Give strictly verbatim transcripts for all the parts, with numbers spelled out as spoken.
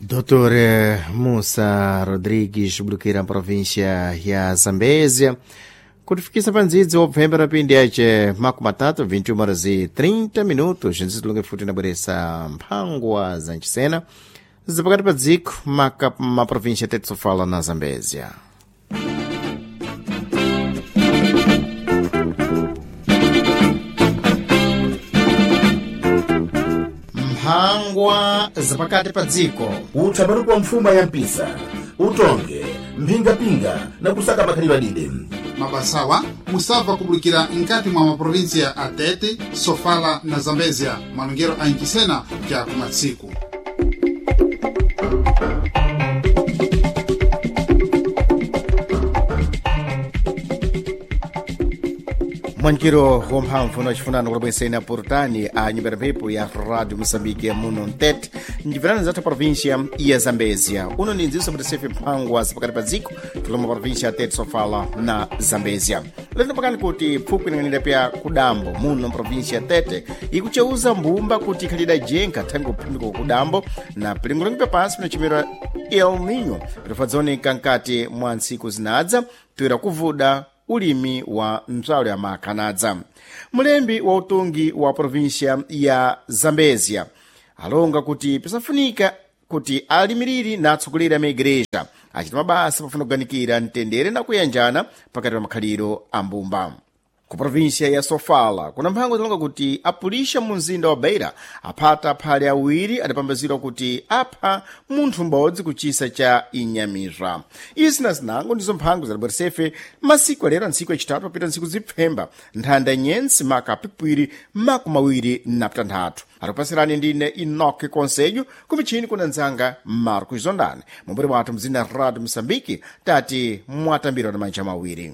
Doutor Mussa Rodrigues, bulukira província ya Zambésia, kutifikisa pa ndzidzi wopfembera pindi yace makumi atatu vinte e uma horas e trinta minutos. Ndzidzi futi inabweresa mphangwa za nchisena zapakati pa dziko maka maprovíncia tete sofala na Zambésia. Mphangwa zapakati pa dziko. Utsambaruko wa mfuma ya mpisa, utonge mphingapinga na kusaka makhalidwe adide. Mabasawa musabva kubulikira nkati mwa maprovinsia a Tete, Sofala na Zambezia, malongero a Ncisena ja kumatsiku. Mwankiro wamphamvu nachifunano kulabwesena portani a nyumba ya mphepo ya Rádio Moçambique muno mtete mcibverano zathu província ya Zambésia. Uno ndi ndziso mutisefe mphangwa zapakati pa dziko tuloma província ya Tete, Sofala na Zambésia. Lero pakani kuti pfukwi inang'anira pya kudambo muno província ya Tete ikucheuza mbumba kuti ikhalida jenka thangi kuphimbika kudambo na pilingolingo pya pansi pinachimera El Nino pitafadzaoneka nkati mwa ntsiku zinadza toera kuvuda ulimi wa mtswalo ya makhanadza. Mulembi wa utungi wa província ya Zambésia alonga kuti pisafunika kuti alimiriri na atsogoleri a maigreja achita mabasa pafuna kuganikira mtendere na kuyanjana pakati pa makhaliro a mbumba. Ku província ya Sofala kuna mphango zilonga kuti apulisha mu mzinda wa Beira aphata aphale awiri adapambazidwa kuti apha munthu m'bodzi kuchisa cha inyamizwa. Izi na zinango ndizo mphango zadabweresefe masiku alero, ntsiku yachitatu papita ntsiku zipfemba nthanda nyensi maka pipwiri makumi awiri na pitanthatu. Atipasirani ndine Enoque Conselho, kumichini kuna nzanga Marcos Zondani mumburi wathu mzina Radio Moçambique. Tati mwatambirwa na manja mawiri.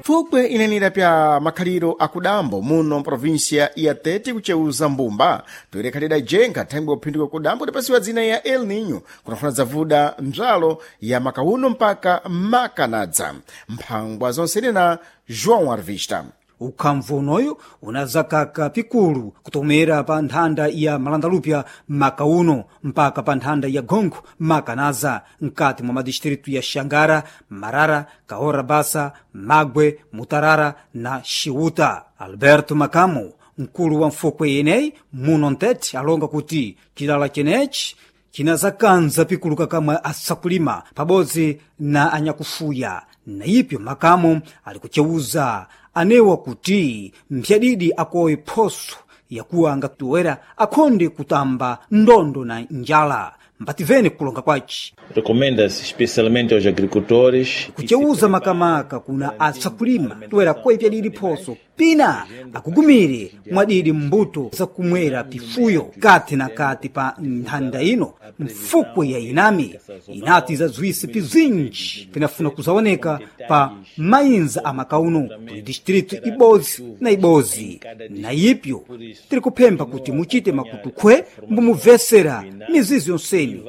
Pfukwe inenera pya makhaliro akudambo muno mprovinsia ya Tete kucheuza mbumba toere khalida jenga thangwi kuphinduka kudambo idapasiwa dzina ya El Nino kunafuna zavuda mdzalo ya makauno mpaka makanadza. Mphangwa zonse na João Arvista. Ukhamvu unoyu unazakaka pikulu kutomera pa nthanda ya malandalupya makauno mpaka pa nthanda ya gongo makanaza mkati mwa madistritu ya Xangara, Marara, Kaora Basa, Magwe, Mutarara na Xiuta. Alberto Makamo, mkulu wa mfukwe yeneyi muno ntete, alonga kuti chilala chenechi chinazakanza pikulu kakamwe asakulima pabodzi na anyakufuya. Na ipyo Makamo ali kuchewuza anewa kuti mphyadidi akowe phoso yakuwa angatuwera akhonde kutamba ndondo na njala. Mbativene kulonga kwaci. Recomenda-se especialmente aos agricultores kuchewuza makamaka kuna asakulima toera koipyadidi phoso pina akugumire mwadidi mbuto zakumwera pifuyo kati na kati pa nthanda ino. Mfukwe ya inami inati zazwise pizinji pinafuna kuzaoneka pa mayinza amakauno kuli distritu ibozi na ibozi. Na ipyo tiri kuphempha kuti muchite makutukhwe mbumubvesera mizizi yonseni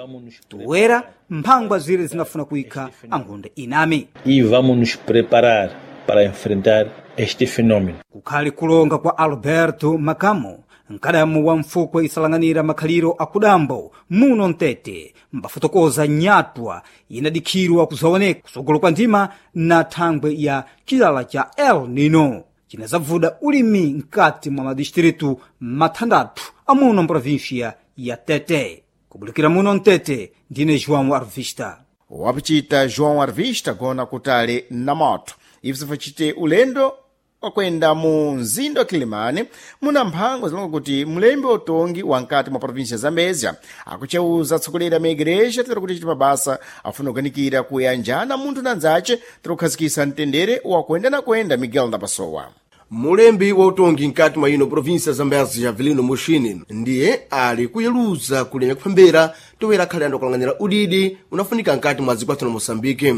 toera mphangwa zire zinafuna kuyikha angonda inami. E vamos nos preparar para enfrentar este fenômeno. Kukhali kulonga kwa Alberto Makamo, mkadamu wa mfukwe isalanganira makhaliro akudambo muno mtete, mbafotokoza nyatwa inadikhirwa kuzaoneka kusogolo kwa ndima na thangwe ya chilala cha El Nino cinazavuda ulimi mkati mwa madistritu mathandathu amuno mprovinsia ya Tete. Kubulikira muno mtete, ndine João Arvista. Wapichita João Arvista gona kutali na moto ibzo facite ulendo wakwenda mu mzinda wa Kilimani muna mphango zilonga kuti mlembi utongi wa nkati mwa província ya Zambésia akucheuza atsogoleri a maigreja tera kuti chiti mabasa afuna kuganikira kuyanjana munthu na nzace tera kukhazikisa mtendere wakwenda na kwenda. Miguel Ndapasowa. Mulembi wa utongi mkati mwa ino provinsia ya Zambésia, Javelino Muxini, ndiye ali kuyeluza kulenya kuphembera Toera akhale anthu akulanganira udidi unafunika mkati mwa dziko lathu la Moçambique.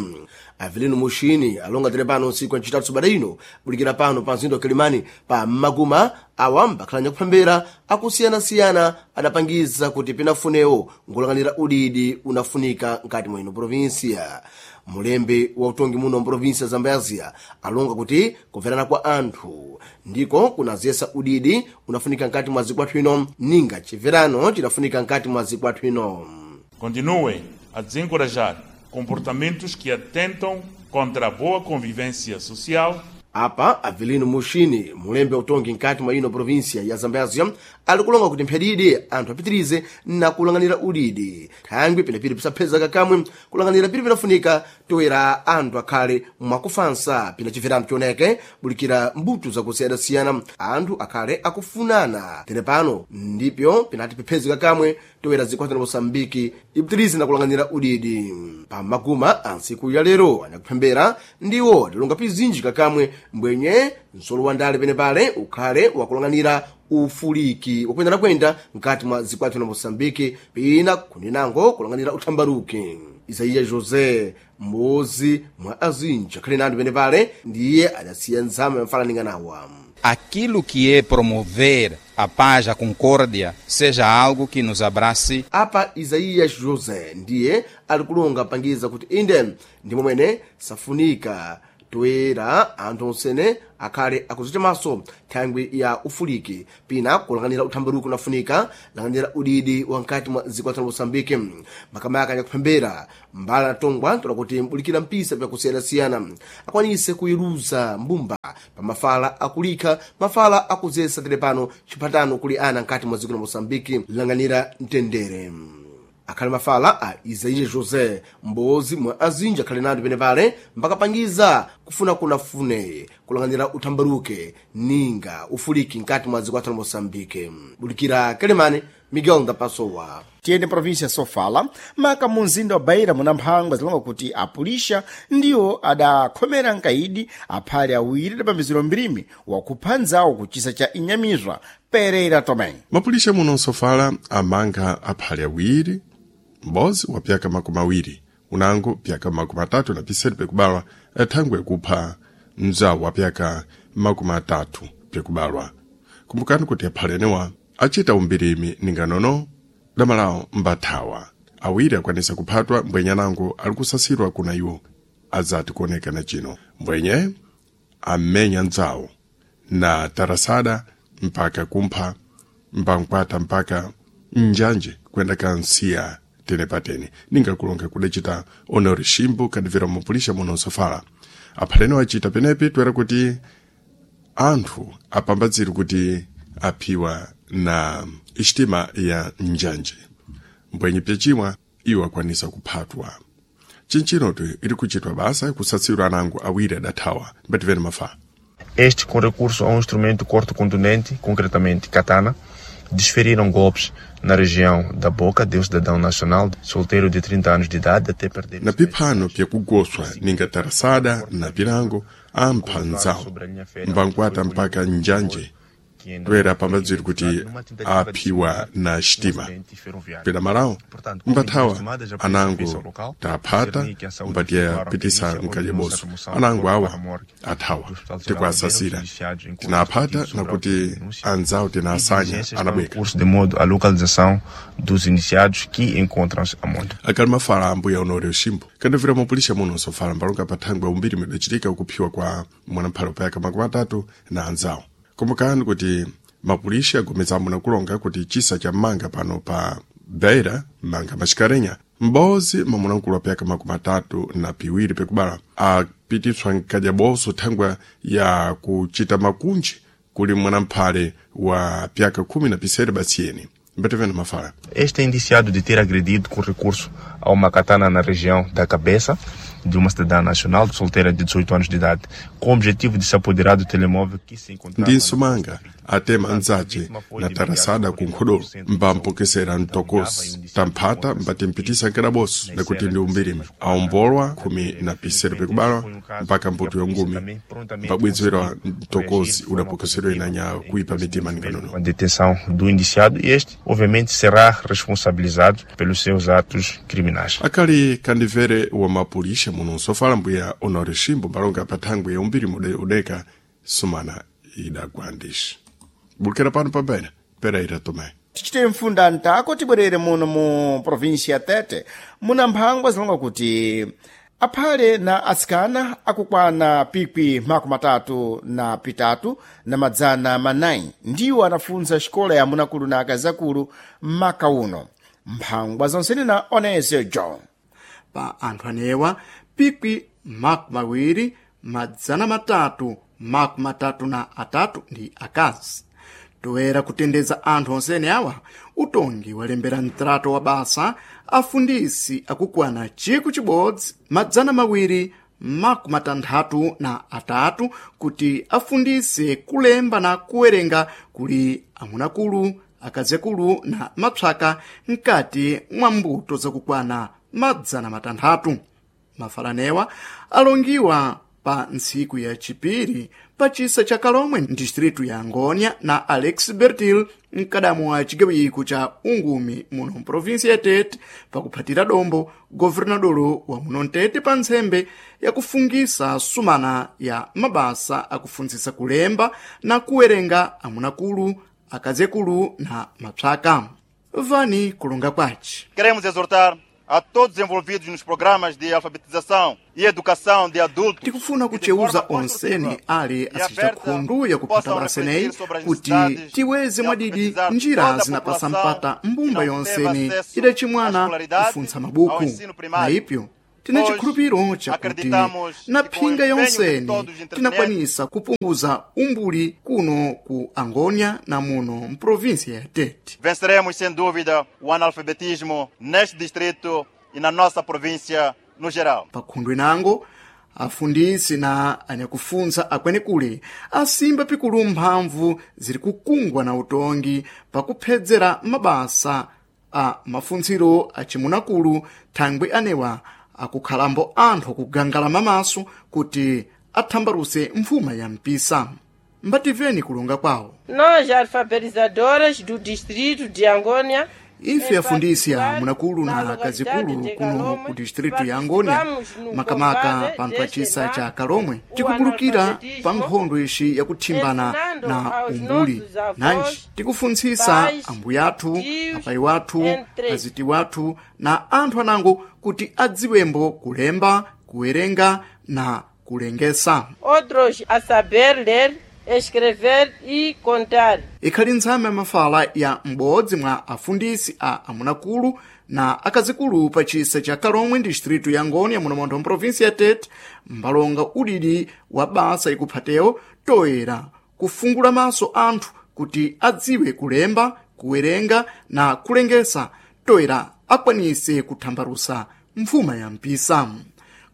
Avelino Mushini alonga tere pano ntsiku ya ncitatu sabata ino bulikira pano pa mzinda wa Kilimani pa Maguma awa mbakhala nyakuphembera akusiyanasiyana adapangiza kuti pinafunewo ngulanganira udidi unafunika mkati mwa ino provinsia. Mulembe wa utongi muno mprovinsia ya Zambezia alonga kuti kumverana kwa anthu ndiko kunazesa udidi unafunika mkati mwa dziko lathu ino, ninga chimverano chidafunika mkati mwa dziko lathu ino. Continuem a desencorajar comportamentos que atentam contra a boa convivência social. Apa Avelino Mushini, mulembe utongi mkati mwa ino provinsia ya Zambezia, ali kulonga kuti mphadidi anthu apitirize na kulanganira udidi thangwi pinapiri pisaphezeka kamwe kulanganira piri pinafunika toera anthu akhale mwakufansa pina chimverano chioneke bulikira mbuto zakusiyanasiyana anthu akhale akufunana. Tere pano ndipyo pinati piphezeka kamwe toera dziko la Moçambique ipitirize na kulanganira udidi. Pamaguma antsiku ya lero anyakuphembera ndiwo adalonga pizinji kakamwe mbwenye msolo wa ndale penepale ukhale wakulanganira ufuliki wakwendanakwenda mkati mwa dziko lathu la Moçambique pina kuninango kulanganira uthambaruki. Isaiya José m'modzi mwa azinji akhale nanthu penepale ndiye adasiya nzama yamfalaninganawa. Aquilo que é promover a paz, a concórdia, seja algo que nos abrace. Apa Isaías José ndiye ali kulonga pangiza kuti inde ndi momwene safunika toera anthu onsene akhale akuzicha maso thangwi ya ufuliki pina kulanganira uthambaruki unafunika langanira udidi wa mkati mwa dziko la Moçambique. Makamaka anyakuphembera mbala tongwa tola kuti mbulikira mpisa pyakusiyanasiyana akwanise kuiluza mbumba pa mafala akulikha mafala akuzesa tere pano chiphatano kuli ana mkati mwa dziko la Moçambique langanira mtendere. Akhale mafala a Isaías José m'modzi mwa azinji akhale nanthu penepale mbakapangiza kufuna kunafune kulanganira uthambaruke ninga ufuliki mkati mwa dziko lathu la Moçambique. Bulikira Kelemane, Miguel Ndapasowa. Tiyende provinsia ya Sofala, maka mu mzinda wa Beira muna mphangwa zilonga kuti apulisha ndiwo adakhomera nkaidi aphale awiri adapambizidwa mbirimi wakupha nzawo kuchisa cha Inyamizwa Pereira Tomé. Mapulisha muno Sofala amanga aphale awiri, m'bodzi wa pyaka makumi awiri, unango pyaka makumi atatu na pisanu pyakubalwa thangwe kupha mzawo wa pyaka makumi atatu pyakubalwa. Kumbukani kuti aphale anewa achita umbirimi ninganono damalawo mbathawa awiri akwanisa kuphatwa mbwenye anango ali kusasidwa kuna iwo adzati kuonekana chino mbwenye amenya mdzawo na tarasada mpaka kumpha mpankwata mpaka njanje kwenda kansiya tene patene ningakulonga kudacita honore shimbo kadivera mupulisha muno Sofala. Aphaleno achita penepi toera kuti anthu apambadzire kuti aphiwa na xitima ya njanje mbwenye pyachimwa iwo akwanisa kuphatwa. Chinchinotu iri kuchitwa basa kusatsirwa anango awiri adathawa mbativene mafa. Este com recurso a um instrumento corto contundente, concretamente katana, desferiram golpes na região da boca de um cidadão nacional solteiro de trinta anos de idade até perder na piphano pyakugoswa ninga tarasada na pilango ampha nzawo mbankwata mpaka njanje toera pambadziri kuti aphiwa na xitima pela malawo mbathawa anango taphata mbatiyapitisa mkalyaboso anango awa athawa tikuasasira tinaphata nakuti anzawo tinaasanya anabweka curso de modo à localização dos iniciados que encontram-se a monte. Akali mafala ambuya Honório Shimbo kandovera mupulisha muno Sofala mbalonga pathangwe umbiri midachitika kuphiwa kwa mwanamphalo payaka makumi atatu na anzawo. Kumbukani kuti mapulisha agomezamo nakulonga kuti chisa cha manga pano pa Beira manga maxikarenya m'bodzi mwa mwanamkulu wa pyaka makumi atatu na piwiri pyakubala apititswa nkadyaboso thangwa ya kuchita makunji kuli mwanamphale wa pyaka khumi na pisere basiyeni. Mbatevene mafala. Este é indiciado de ter agredido com recurso a uma katana na região da cabeça de uma cidadã nacional solteira de dezoito anos de idade, com o objetivo de se apoderar do telemóvel que se encontrava. Ndi Nsumanga atema anzace na tarasada ku nkhodolo mbampokesera mtokosi tamphata mbatimpitisa nkadaboso nakuti ndi umbirimi aombolwa khumi na pisero pikubalwa mpaka mputu yongumi mbabwezerwa mtokosi udapokesedwa inanya kuipa mitima nikanono A detenção do indiciado e este, obviamente, será responsabilizado pelos seus atos criminais. Akali kandivere wa mapulisha muno nsofala mbuya Honore Shimbo mbalonga pathangwe ya umbiri mude udeka sumana idagwandishi bulukira pano pambene Pereira Tomé. Tichite mfunda ntako tibwerere muno mu província ya Tete muna mphangwa zilonga kuti aphale na atsikana akukwana pikwi makumi atatu na pitatu na madzana manayi ndiwo anafunza xikola ya munakulu na akazakulu maka uno. Mphangwa zonsene na Onesio John. Pa anthu anewa pikwi makumi mawiri madzana matatu makumi matatu na atatu ndi akazi. Toera kutendeza anthu onsene awa, utongi walembera mtrato wa basa afundisi akukwana chiku chibodzi madzana mawiri makumi matanthatu na atatu kuti afundise kulemba na kuwerenga kuli amunakulu, akazikulu na mapsaka mkati mwa mbuto zakukwana madzana matanthatu. Mafalanewa alongiwa pa ntsiku ya chipiri pa chisa cha Kalomwe ndistritu ya Angônia na Alex Bertil mkadamu wa chigawiko cha Ungumi muno mprovinsia ya Tete pakuphatira dombo governadolo wa muno Ntete pa ntsembe yakufungisa sumana ya mabasa akufundzisa kulemba na kuwerenga amunakulu, akazekulu na mapsaka. Vani kulonga kwace. Queremos exortar a todos envolvidos nos programas de alfabetização e educação de adultos. Tikufuna kucheuza onsene ali asicha khundu yakuphata baseneyi kuti tiweze mwadidi njira zinapasa mpata mbumba yonsene idacimwana kufuntsa mabuku na ipyo tina chikhulupiro chakuti na phinga yonsene tinakwanisa kupunguza umbuli kuno ku Angônia na muno mprovinsia ya Tete. Venceremos sem dúvida o analfabetismo neste distrito e na nossa província no geral. Pakhundwe nango afundisi na anyakufunza akwenekule asimba pikulu mphamvu ziri kukungwa na utongi pakuphedzera mabasa a mafuntsiro acimunakulu thangwi anewa akukhalambo anthu akugangala mamaso kuti athambaruse mfuma ya mpisa. Mbativeni kulonga kwawo. Nós, alfabetizadoras do distrito de Angônia, Ife afundisi a munakulu na akazikulu kuno ku distritu ya Angônia, makamaka panthu pachisa cha Kalomwe, tikukulukira pa nkhondo ixi yakuthimbana na umbuli. Nanji tikufuntsisa ambuyathu, apayi wathu, aziti wathu na anthu anango kuti adziwembo kulemba, kuwerenga na kulengesa. Outros a saber ler, escrever e contar. Ikhali ntsame ya mafala ya m'bodzi mwa afundisi a amunakulu na akazikulu pa chisa cha Kalomwe distritu ya Angônia muno montho mprovinsia ya Tete mbalonga udidi wa basa ikuphatewo toera kufungula maso anthu kuti adziwe kulemba, kuwerenga na kulengesa toera akwanise kuthambarusa mfuma ya mpisa.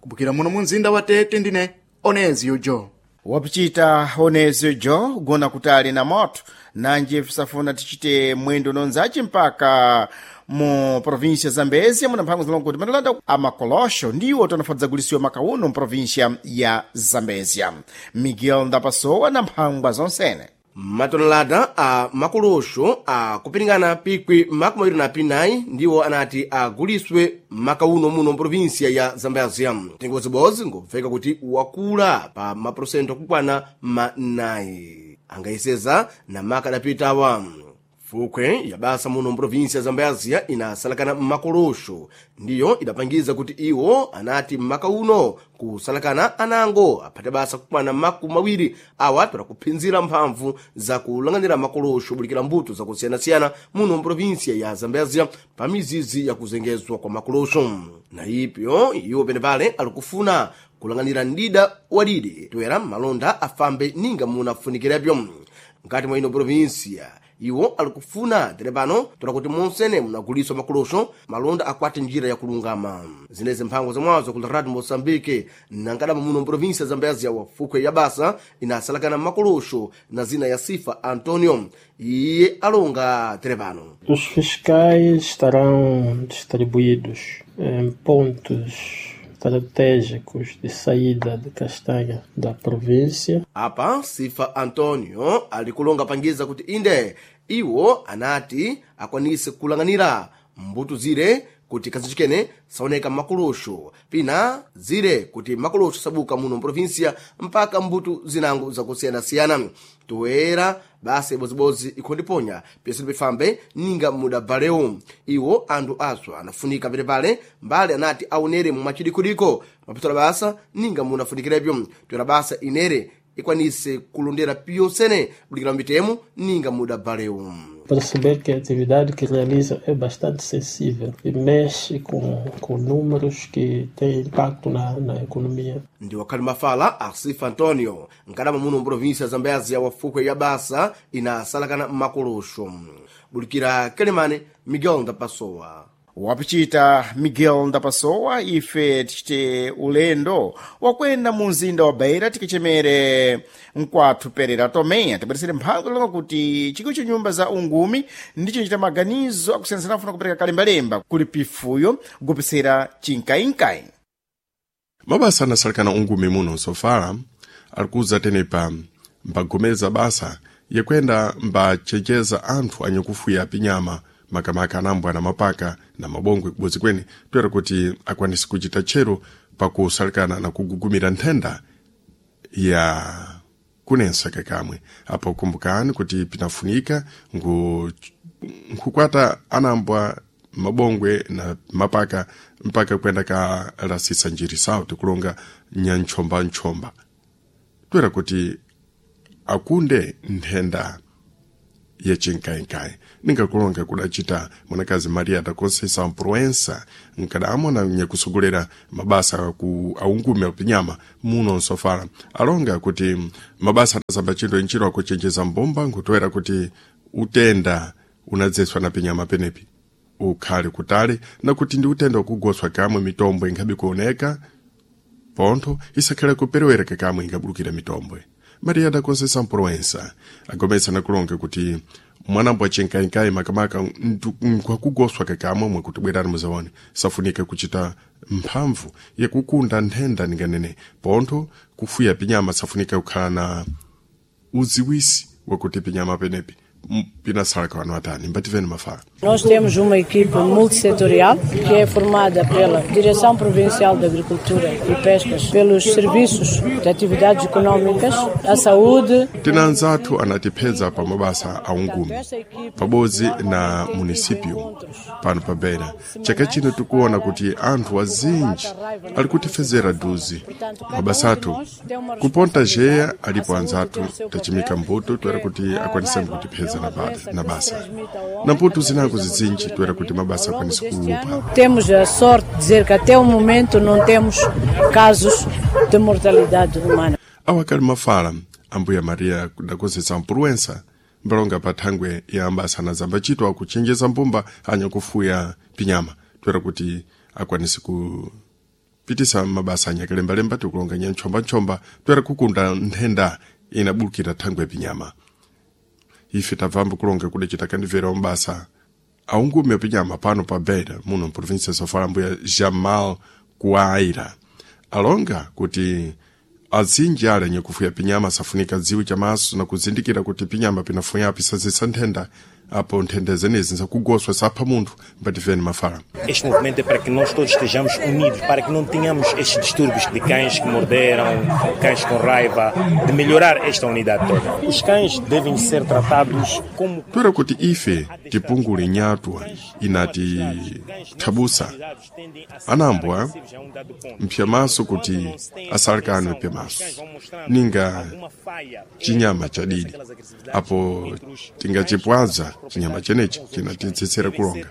Kubukira muno mu mzinda wa Tete ndine Onezio Jo. Wapichita Onezio Jo gona kutali na moto nanji fisafuna tichite mwendo nonzaci mpaka mu província Zambezia muna mphango zilongo kuti matalanda amakolosho ndiwo tanafadzagulisiwa makauno mu província ya Zambezia. Miguel Ndapasowa na mphangwa zonsene. Matonelada a makolosho akupiringana pikwi makumi awiri na pinayi ndiwo anati aguliswe makauno muno mprovinsia ya Zambezia. Mtengo wazibodzi ngobveka kuti wakula pa maprosento akukwana manayi angayeseza na maka adapitawa. Fukwe ya basa muno mprovinsia ya Zambezia inasalakana makolosho ndiyo idapangiza kuti iwo anati mmaka uno kusalakana anango aphate basa kukwana makumi mawiri awa tola kuphinzira mphamvu za kulanganira makolosho bulikira mbuto zakusiyanasiyana muno mprovinsia ya Zambezia pa mizizi ya kuzengezwa kwa makolosho. Na ipyo iwo penepale alikufuna kulanganira ndida wadidi toera malonda afambe ninga munafunikirapyo. Mkati mwa ino provinsia Iwo ali kufuna tere pano tola kuti monsene munaguliswa makolosho malonda akwate njira yakulungama. Zinezi mphango zamwazo ku Radio Moçambique nankadama muno mprovinsia Zambezia wa fukwe ya basa inasalakana makolosho na zina ya Sifa Antonio iye alonga tere pano. Os fiscais estarão distribuídos em pontos estratégicos de saída de castanha da província. Apa Sifa Antonio alikulonga pangiza kuti inde iwo anati akwanise kulanganira mbuto zire kuti kazichikene saoneka makolosho pina zire kuti makolosho sabuka muno mprovinsia mpaka mbuto zinango zakusiyanasiyana. Toera basa ibozibodzi ikhondiponya pese pifambe ninga mudabvalewo. Iwo anthu aswa anafunika pelepale mbali anati aonere mumachidikudiko mapitola basa ninga munafunikirepyo. Toera basa inere ikwanise kulondera piyonsene bulikira mitemo ninga mudabvalewo. Perceber que a atividade que realiza é bastante sensível e mexe com, com números que têm impacto na, na economia. Ndi wakhali mafala Asifa Antonio nkadama muno mprovinsia Zambezia wa fukwe ya basa inasalakana makolosho. Bulikira Kelemane, Miguel Ndapasowa. Wapichita Miguel Ndapasowa. Ife tichite ulendo wakwenda mu mzinda wa Beira tikichemere mkwathu Perera Tomé tibweresere mphango longa kuti chikwi cha nyumba za ungumi ndicho chita maganizo akusiyanasiyana afuna kupereka kalembalemba kuli pifuyo kugopisera chinkainkai. Mabasa anasalekana ungumi muno Sofala alikuza tenepa mbagomeza basa yakwenda mbachenjeza anthu anyakufuya pinyama makamaka anambwa na mapaka na mabongwe kubodzi kweni toera kuti akwanise kuchita tchero pakusalikana na kugugumira nthenda ya kunensa kakamwe. Apo kumbukani kuti pinafunika ngu nkukwata anambwa mabongwe na mapaka mpaka kwenda ka lasisa njiri sawo tikulonga nyanchombanchomba toera kuti akunde nthenda yachinkainkai. Ningakulonga kudacita mwanakazi Maria da Conceição Proença nkadamwa na nyakusogolera mabasa ku aungume apinyama muno Nsofala alonga kuti mabasa anasamba chinthu ntchito akuchenjeza mbumba nkutoera kuti utenda unadzeswa na pinyama penepi ukhale kutali na kuti ndi utenda wakugoswa kamwe mitombo inkhabe kuoneka pontho isakhale kuperewereka kamwe ingabulukira mitombwe. Maria da Conceição Proença agomesa nakulonga kuti mwanambo achinkainkai makamaka nkwakugoswa kakamwe mwe kuti bwerani muzaone safunika kuchita mphamvu yakukunda nthenda ninganene pontho kufuya pinyama safunika kukhala na uziwisi wakuti pinyama penepi pinasalaka wanu atani mbativeni mafala. Nós temos uma equipe multissetorial que é formada pela Direção Provincial de Agricultura e Pescas, pelos serviços de atividades econômicas, a saúde. Tina anzathu anatipeza pa mabasa a ungumi pabodzi na munisipio pano pa Beira. Chaka chino tikuona kuti anthu azinji ali kutifezera duzi mabasa athu kuponta jeya alipo anzathu tachimika mbuto toera kuti akwaniseni kutipeza na, ba, na basa na mbuto zinango zizinji toera kuti mabasa akwanise kulupa. Temos a sorte de dizer que até o momento não temos casos de mortalidade humana. Awakali mafala ambuya Maria da Conceição Proença mbalonga pa thangwe ya ambasa na zambachito akuchenjeza mbumba anyakufuya pinyama toera kuti akwanise kupitisa mabasa anyakalembalemba tikulonga nyanchombanchomba toera kukunda nthenda inabulukira thangwe pinyama. Ife tabvambo kulonga kudacita kandibvera mabasa aungume pinyama pano pa Beira muno mprovinsia ya Sofala mbuya Jamal Kuaira alonga kuti azinji ali anyakufuya pinyama safunika dziwi chamaso na kuzindikira kuti pinyama pinafuya pisazisa nthenda apo nthenda zenezi nzakugoswa sapha munthu mbativeni mafala. Este movimento é para que nós todos estejamos unidos, para que não tenhamos estes distúrbios de cães que morderam, cães com raiva, de melhorar esta unidade toda. Os cães devem ser tratados como... Toera kuti ife tipungule nyatwa inati thabusa anambwa mpyamaso kuti asalekane pyamaso ninga chinyama chadidi apo tingachipwaza chinyama chenechi chinatitsetsera kulonga.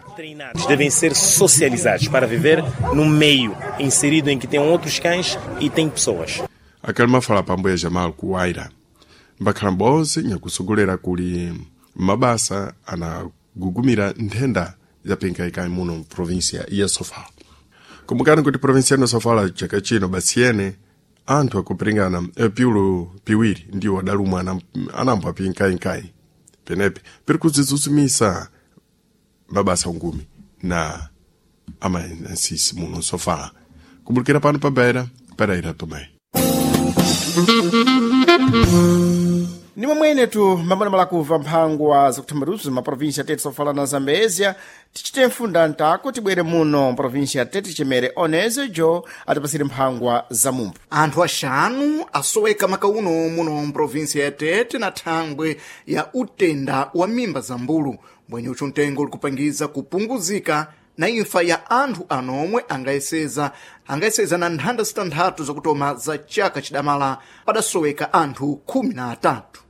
Devem ser socializados para viver num meio inserido em que tem outros cães e tem pessoas. Akali mafala pambuya Jamal Kuwaira mbakhala m'bodzi nyakusogolera kuli Mabasa anagugumira nthenda zapinkaikayi muno mprovinsia ya Sofala. Kumbukani kuti provinsia ya Sofala chaka chino basiyene anthu akupiringana piulu piwiri ndiwo adalumwa anambo apinkayinkayi penepe piri kudzidzuzumisa mabasa ungumi na amaensisi muno Sofala. Kumbukira pano pa Beira, Pereira Tomé. Ni momwene tu mambona malakuva mphangwa zakuthambaluzo maprovinsia tete Sofala na Zambezia, tichite mfunda ntako tibwere muno mprovinsia tete chemere onezo jo atipasire mphangwa za mumpu. Anthu axanu asoweka makauno muno mprovinsia ya Tete na thangwe ya utenda wa mimba za mbulu, mbwenyucho mtengo ulikupangiza kupunguzika na imfa ya anthu anomwe angayeseza angayeseza na nthanda zitanthatu zakutoma za chaka chidamala padasoweka anthu khumi na atatu.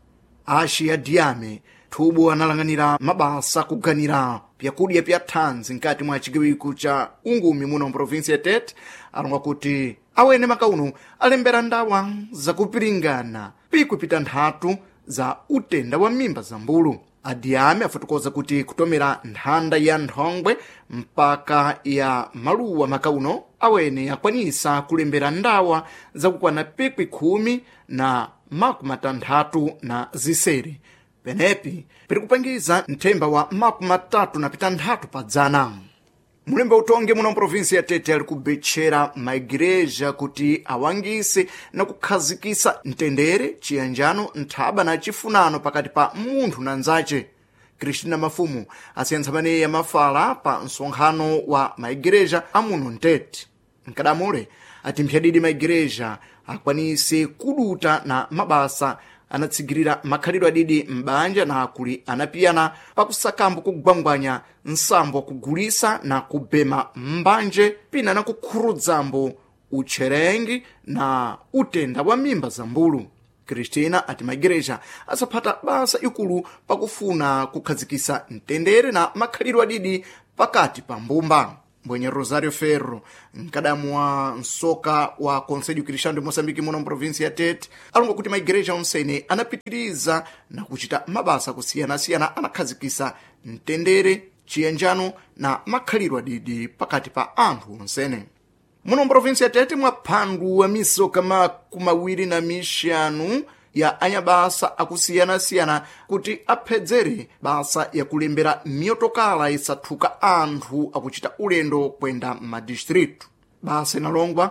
Axi ya Diame thubu analang'anira mabasa kuganira pyakudya pya thanzi nkati mwa chigawiko cha ungumi muno mprovinsia ya Tete alonga kuti awene makauno alembera ndawa zakupiringana pikwi pitanthatu za utenda wa mimba za mbulu. Adiame afotokoza kuti kutomera nthanda ya nthongwe mpaka ya maluwa makauno awene akwanisa kulembera ndawa zakukwana pikwi khumi na makumi matanthatu na ziseri, penepi pirikupangiza nthemba wa makumi matatu na pitanthatu pa dzana. Mulembe utongi muno mprovinsi ya Tete ali kubetchera maigireja kuti awangise na kukhazikisa mtendere, chiyanjano, nthaba na chifunano pakati pa munthu na nzace. Cristina Mafumu asiyantsa maneyi mafala pa msonkhano wa maigireja amuno mtete. Mkadamule ati mphyadidi maigireja akwanise kuduta na mabasa anatsigirira makhalidwe adidi m'banja na kuli anapiyana pakusakambo kugwangwanya nsambo wakugulisa na kubema mbanje pina na kukhurudzambo utcherengi na utenda wa mimba za mbulu. Cristina ati maigereja asaphata basa ikulu pakufuna kukhazikisa mtendere na makhalidwe adidi pakati pa mbumba. Mbwenye Rosario Ferro, mkadamu wa msoka wa Conselho Cristão de Moçambique muno mprovinsia ya Tete, alonga kuti maigereja onsene anapitiriza na kuchita mabasa kusiyanasiyana anakhazikisa mtendere, chiyanjano na makhalidwe adidi pakati pa anthu onsene. Muno mprovinsia ya Tete mwaphandu wa misoka makumi awiri na mixanu ya anyabasa akusiyanasiyana kuti aphedzere basa yakulembera miyotokala isathuka anthu akuchita ulendo kwenda m'madistritu. Basa inalongwa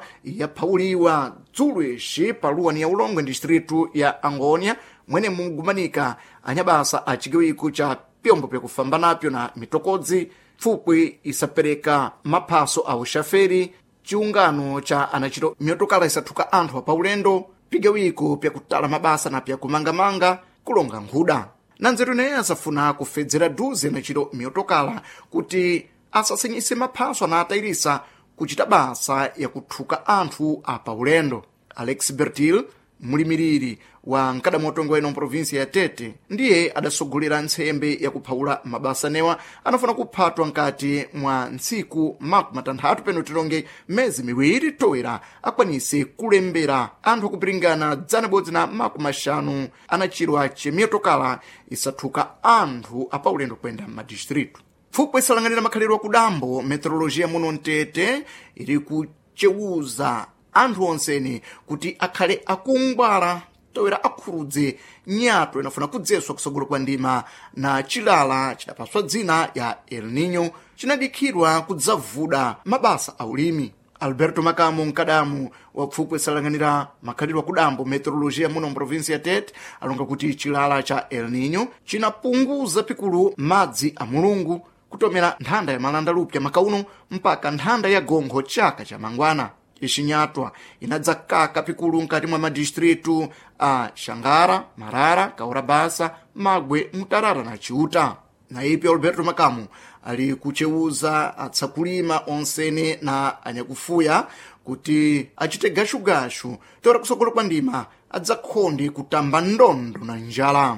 yaphawuliwa dzulo ixi paluwani ya Ulongwe distritu ya Angônia, mwene mugumanika anyabasa a chigawiko cha pyombo pyakufamba napyo na mitokodzi, pfupwi isapereka maphaso a uxaferi, chiungano cha anachito miyotokala isathuka anthu apaulendo, pigawiko pyakutala mabasa na pyakumangamanga kulonga nkhuda. Na nzeru ineyi asafuna kufedzera duze nachito miyotokala kuti asasenyise maphaso anatayirisa kuchita basa yakuthuka anthu apaulendo. Alex Bertil, mulimiriri wa mkadamu ino mprovinsia ya Tete, ndiye adasogolera ntsembe yakuphawula mabasa newa anafuna kuphatwa nkati mwa ntsiku makumi matanthatu peno tilonge mezi miwiri toera akwanise kulembera anthu akupiringana dzana bodzi na makumi axanu anachirwa chemiyotokala isathuka anthu apaulendo kuyenda m'madistritu. Pfupwi isalanganira makhalidwe akudambo meteorologia muno mtete iri kucewuza anthu onsene kuti akhale akungwala toera akhurudze nyato inafuna kudzeswa kusogolo kwa ndima na chilala chidapaswa dzina ya El Nino chinadikhidwa kudzavuda mabasa a ulimi. Alberto Makamo, mkadamu wa pfupwi isalanganira makhalidwe akudambo meteorologia muno mprovinsia ya Tete, alonga kuti chilala cha El Nino chinapunguza pikulu madzi a Mulungu kutomera nthanda ya malanda lupya makauno mpaka nthanda ya gonkho chaka cha mangwana. Ixinyatwa inadzakaka pikulu nkati mwa madistritu a Xangara, Marara, Kaurabasa, Magwe, Mutarara na Chiuta. Na ipi Alberto Makamu ali kuchewuza atsakulima onsene na anyakufuya kuti achite gashugashu tora kusogolo kwa ndima adzakhonde kutamba ndondo na njala.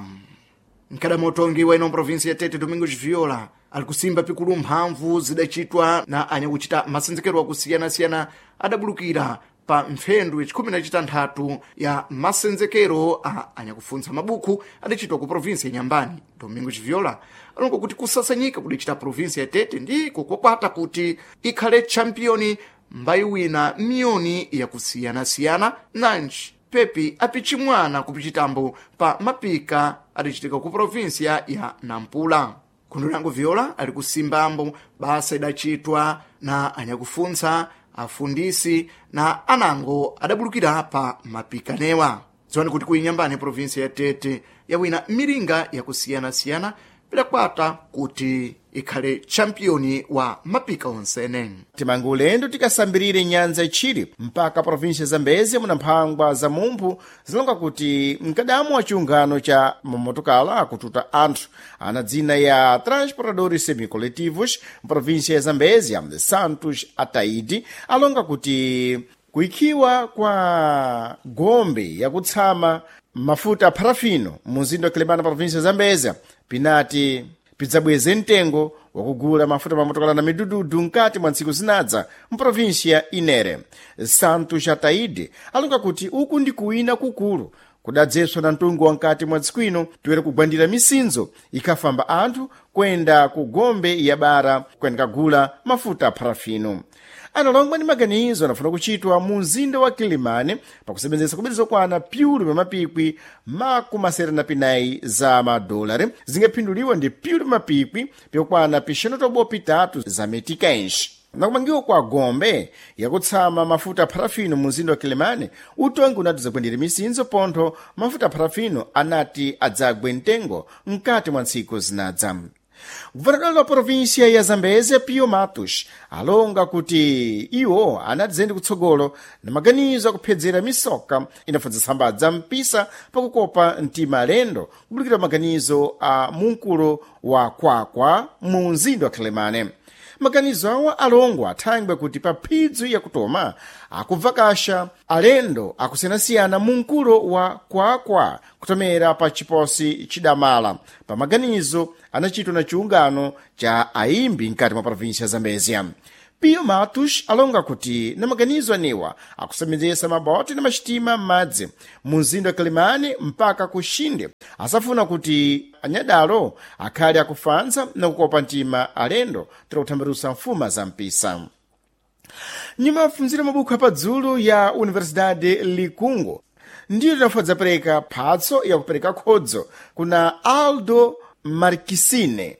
Mkadamu utongi wa ino provinsi ya Tete, Domingos Viola, ali kusimba pikulu mphamvu zidachitwa na anyakuchita masenzekero akusiyana-siyana adabulukira pa mphendu yachikhumi na chitanthatu ya masenzekero a anyakufuntsa mabuku adacitwa ku provinsi ya Nyambani. Domingo Chiviola alonga kuti kusasanyika kudacita provinsi ya Tete ndiko kwakwata kuti ikhale champiyoni mbayiwina miyoni yakusiyanasiyana nanji pepi apichimwana kupichitambo pa mapika adacitika ku provinsiya ya Nampula. Khundulango Viola ali kusimbambo basa idacitwa na anyakufuntsa, afundisi na anango adabulukira pa mapikanewa. Dziwani kuti kuinyambani provinsi ya Tete yawina miringa yakusiyanasiyana pidakwata kuti ikhale champiyoni wa mapika onsene. Timange ulendo tikasambirire nyanza itchire mpaka província Zambezia muna mphangwa za mumphu zilonga kuti mkadamu wa chiungano cha mamotokala akututa anthu ana dzina ya Transportadores Semicoletivos mprovíncia ya Zambezia Santos Ataidi alonga kuti kuikhiwa kwa gombe yakutsama mafuta parafino mu mzinda wa Quelimane província ya Zambezia pinati pidzabweze mtengo wakugula mafuta mamotokala na midududu mkati mwa ntsiku zinadza mprovinsia Inere. Santos Ataide alonga kuti uku ndi kuwina kukulu kudadzeswa na mtungu wa mkati mwa dziko ino toera kugwandira misinzo ikhafamba anthu kuyenda ku gombe ya bara kuyendakagula mafuta parafino. Analongwa ndi maganizo anafuna kuchitwa mu mzinda wa Quelimane pakusebenzesa kubiri zokwana pyulu pa mapikwi makumasere na pinayi za madolari zingaphinduliwa ndi pyulu pa mapikwi pyokwana pixanu tobo pitatu za meticais. Nakumangiwa kwa gombe yakutsama mafuta parafino mu mzinda wa Quelimane utongi unati zakwendera misinzo pontho mafuta parafino anati adzagwe mtengo mkati mwa ntsiku zinadza. Guvernador wa província ya Zambézia Pio Matos alonga kuti iwo anati kutsogolo na maganizo akuphedzera misoka inafundza mpisa pakukopa mtima alendo kubulikira maganizo a munkulo wa Kwakwa mu mzinda wa Quelimane. Maganizo awa alongwa athangwe kuti pa phidzu yakutoma akubvakasha alendo akusiyanasiyana mu mkulo wa Kwakwa kutomera pa chiposi chidamala pa maganizo anachitwa na chiungano cha aimbi mkati mwa província ya Zambezia. Pio Matos alonga kuti na maganizo anewa akusembenzesa maboti na maxitima m'madzi mu mzinda wa Quelimane mpaka ku Xinde asafuna kuti anyadalo akhale akufanza na kukopa mtima alendo tira kuthambirusa mfuma za mpisa. Nyuma afunzira mabuku apadzulu ya Universidade Likungo ndiyo tinafodza pereka phatso yakupereka khodzo kuna Aldo Marquisine.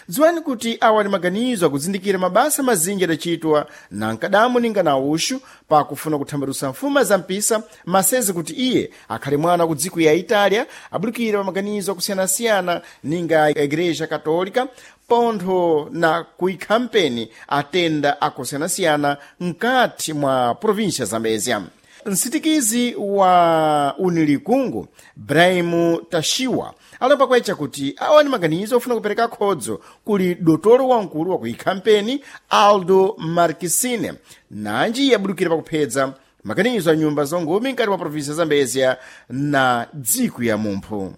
Dziwani kuti awa ni maganizo akuzindikira mabasa mazinji adachitwa na nkadamu ninga na uxu pakufuna kuthambalusa mfuma za mpisa masezi kuti iye akhale mwana ku dziko ya Itália abulikira pa maganizo akusiyanasiyana ninga Igreja Católica pontho na kuikhampeni atenda akusiyanasiyana mkati mwa província Zambézia. Msitikizi wa Unilikungu Brahim Tashiwa alomba kwacha kuti awa ni maganizo ofuna kupereka khodzo kuli dotolo wamkulu wa kuikhampeni Aldo Marquisine nanji yabudukira pakuphedza maganizo a nyumba zongumi mkati mwa província ya Zambézia na dziko ya mumphu.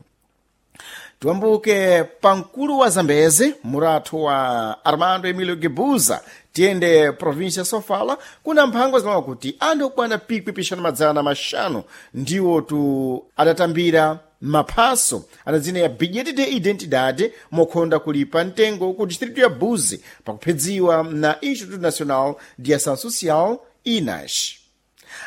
Tiwambuke pamkulu wa Zambeze murathu wa Armando Emilio Gebuza tiyende província Sofala kuna mphangwa zimawa kuti anthu okwana pikwi pixanu madzana maxanu ndiwo tu adatambira maphaso ana dzina ya bilhete de identidade mokhonda kulipa mtengo ku distrito ya Buzi pakuphedziwa na Instituto Nacional de Ação Social INAS.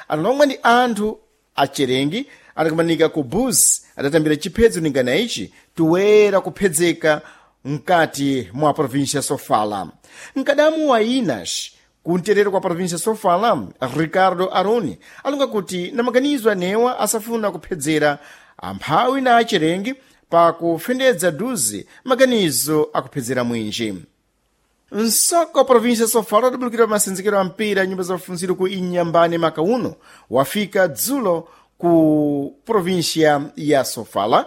Analomwe ndi anthu acherengi adakumanika ku Buzi adatambira chiphedzo ningana ichi toera kuphedzeka mkati mwa província Sofala. Mkadamu wa INAS kumterero kwa província Sofala Ricardo Aroni alonga kuti na maganizo anewa asafuna kuphedzera amphawi na acherengi pakufendedza duzi maganizo akuphedzera mwinji. Msoko wa província Sofala adabulukira masenzekero a mpira nyumba za mafunziro ku Inhambane maka uno wafika dzulo ku província ya Sofala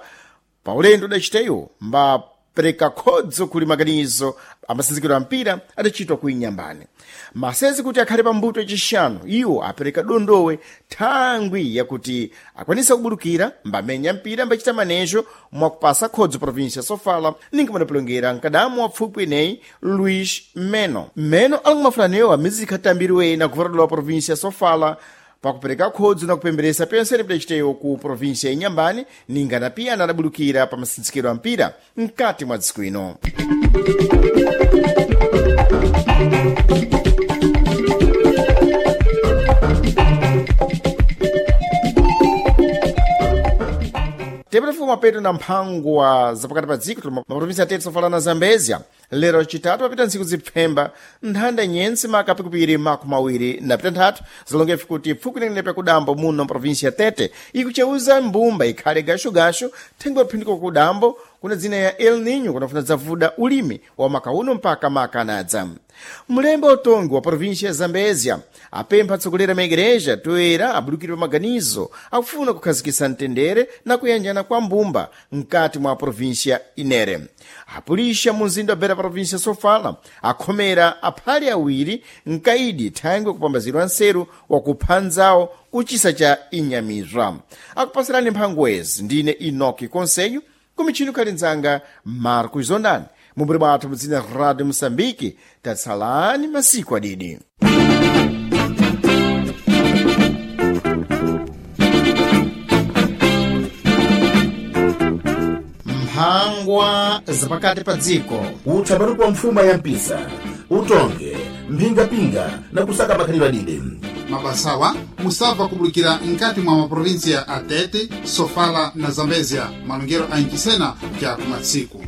pa ulendo udaciteyo mbapereka khodzo kuli maganizo amasenzekero a mpira adachitwa ku Inhambane. Masezi kuti akhale pambuto yacixanu iwo apereka dondowe thangwi yakuti akwanisa kubulukira mbamenya mpira mbachita manejo mwakupasa khodzo província Sofala ninga madapulongera mkadamu wa pfupwi eneyi Luís Meno. Meno alonga mafulanewo amizikha tambiriwe na guvernador wa província Sofala Pakupereka khodzo na kupemberesa pensene pidaciteyo ku província ya Inhambane, ninga na piya anadabulukira pa masintsikiro a mpira mkati mwa dziko ino. Tepatafika mapeto na mphangwa zapakati pa dziko tuli maprovinsi atete Sofala na Zambezia. Lero chitatu papita ntsiku zipfemba nthanda nyense makapikupiri makumi awiri na pitanthatu zilongefe kuti pfuku inene pakudambo muno mprovinsi ya Tete ikucheuza mbumba ikhale gashogasho thengo yaphindiko kudambo kuna dzina ya El Nino kunafuna dzavuda ulimi wa maka uno mpaka maka anadza. Mlembe utongi wa província ya Zambezia apempha atsogoleri a maigreja toera abudukire pa maganizo akufuna kukhazikitsa mtendere na kuyanjana kwa mbumba mkati mwa província inere. Apulisha mu mzinda wa Beira província Sofala akhomera aphale awiri mkaidi thangwe kupambazidwa nseru wakupha nzawo kuchisa cha inyamizwa. Akupasirani mphangwezi ndine Enoki Conselho kumichini khali nzanga Marcos Zondani mumburi mwathu mudzina Radio Moçambique. Tatsalani masiku adidi. Mphangwa zapakati pa dziko. Utha patu kwa mfuma ya mpisa, utonge, mphingapinga na kusaka makhalidwe adidi. Mabasawa musabva kubulikira nkati mwa maprovinsia a Tete, Sofala na Zambezia. Malongero a Inchisena ja kumatsiku.